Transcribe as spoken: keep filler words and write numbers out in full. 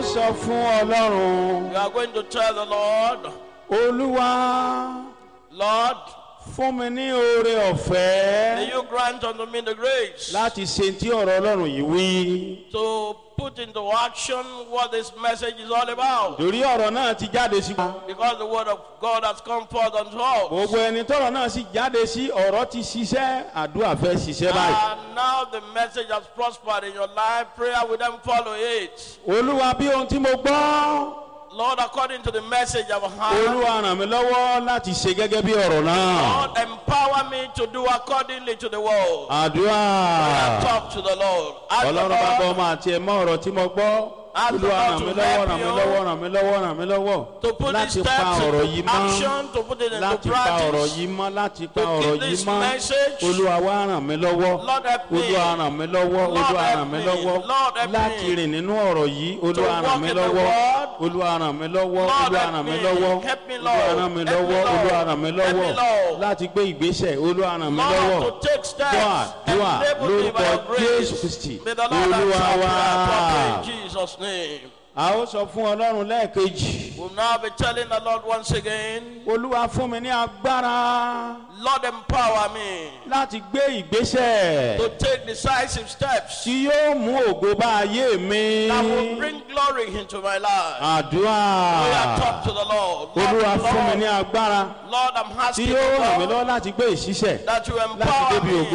Ó sọ fún Ọlọ́run. You are going to tell the Lord, Olúwa, "Lord, fún mi ní oore ọ̀fẹ́ may you grant unto me the grace láti ṣe tí ọ̀rọ̀ Ọlọ́run yìí wí. to put into action what this message is all about." Torí ọ̀rọ̀ náà ti jáde sí. Because the word of God has come forth unto us. Gbogbo ẹni tọ́rọ̀ náà sì jáde sí, ọ̀rọ̀ ti ṣiṣẹ́, àdúrà fẹ́ ṣiṣẹ́ báyìí. And now the message has prospered in your life. Prayer will then follow it. Olúwa, bí ohun tí mo gbọ́. Lord, according to the message I've heard, Olúwa, ràn mí lọ́wọ́ láti ṣe gẹ́gẹ́ bí ọ̀rọ̀ náà. Lord, empower me to do accordingly to the word. Àdúrà. Talk to the Lord. Ask the Ọlọ́run bá gbọ́ Lord ọmọ àti ẹ̀mọ́ ọ̀rọ̀ tí mo gbọ́. Ask the Olúwa, Lord ràn to mí lọ́wọ́, help ràn mí you lọ́wọ́, ràn mí lọ́wọ́, ràn mí lọ́wọ́. to put these Láti pa steps ọ̀rọ̀ yìí into mọ́. action, to put it into Láti pa ọ̀rọ̀ practice. yìí mọ́, láti pa To ọ̀rọ̀ keep yìí this mọ́. message. Olúwa, wá ràn mí lọ́wọ́. Lord, help me. Olúwa, ràn mí lọ́wọ́. Lord, Olúwa, help ràn mí me. lọ́wọ́. Lord, help me. Láti rìn nínú ọ̀rọ̀ yìí. Olúwa, ràn Walk mí in the lọ́wọ́. word. Olúwa, ràn mí lọ́wọ́. Lord, Olúwa, help ràn mí me. lọ́wọ́. Help me, Olúwa, Lord. ràn mí Help me, lọ́wọ́. Lord. Olúwa, ràn mí Help me, lọ́wọ́. Lord. Láti gbé ìgbésẹ̀. Olúwa, ràn mí Lord, lọ́wọ́. to take steps. Dúà, dúà Enable me by lórúkọ your grace. Jésù Kristi. May the Lord Olúwa answer wa. prayer properly in Jesus' name. A ó sọ fún Ọlọ́run lẹ́ẹ̀kejì. We'll now be telling the Lord once again, Olúwa, fún mi ní agbára "Lord, empower me láti gbé ìgbésẹ̀ to take decisive steps tí yóò mú ògo bá ayé mi. that will bring glory into my life." Àdúrà. We are talk to the Lord. Lord, Olúwa, fún mi ní Lord, agbára Lord, I'm tí asking yóò you, ràn mí Lord, lọ́wọ́ láti gbé ìṣiṣẹ́ that you láti empower débi me ògo.